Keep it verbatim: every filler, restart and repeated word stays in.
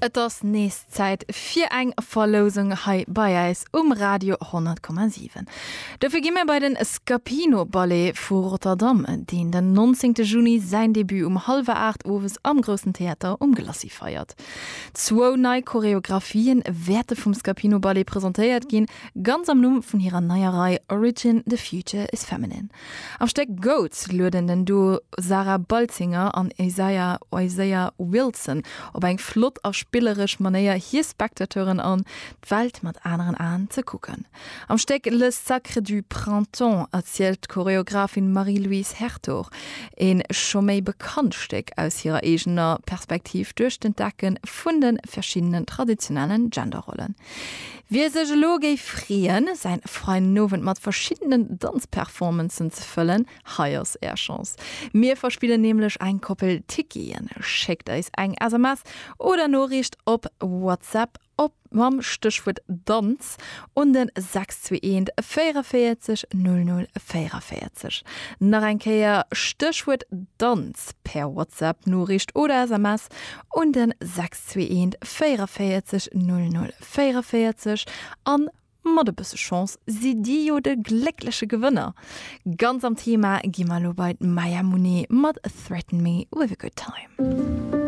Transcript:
Et ass nees Zäit fir eng Verlousung hei bei eis um Radio honnert Komma siwen. Dofir gi mir bei den Scapino Ballet vu Rotterdam, deen den nonzéngte Juni säin Debut um hallwer aacht owes am Groussen Theater um Glacis feiert. Zwou nei Choreographien wäerte vum Scapino Ballet presentéiert ginn, ganz am Numm vun hirer neier Rei Origin, The Future is Feminine. Am Stéck Goats lueden den Duo Sarah Baltzinger an Isaiah Isaiah Wilson op eng flott a spilleresch Manéier hir Spectateuren an, d'Welt mat aneren Aen ze kucken. Am Stéck Le Sacre du Printemps erzielt d'Choreographin Marie-Louise Hertogh e scho méi bekannt Stéck aus hirer eegener Perspektiv duerch d'Entdecke vun de verschiddenen traditionellen Genderrollen. Wie sech elo géif freeën, säin fräien Owend mat verschiddenen Danzperformancen ze fëllen, hei ass är Chance. Mir verspillen nämlech eng Koppel Ticketen. Schéckt eis eng S M S oder Noriicht op WhatsApp op mam Stéchwuert Danz un den sechs zwee eent véierenvéierzeg null null véierenvéierzeg. Nach eng Kéier, Stéchwuert Danz per WhatsApp Noriicht oder S M S un den sechs zwee eent véierenvéierzeg null null véierenvéierzeg an mat e bësse Chance sidd dir jo de gléckleche Gewënner. Ganz am Thema gi mer elo bei d'Maya Monet mat Threaten Me With a Good Time.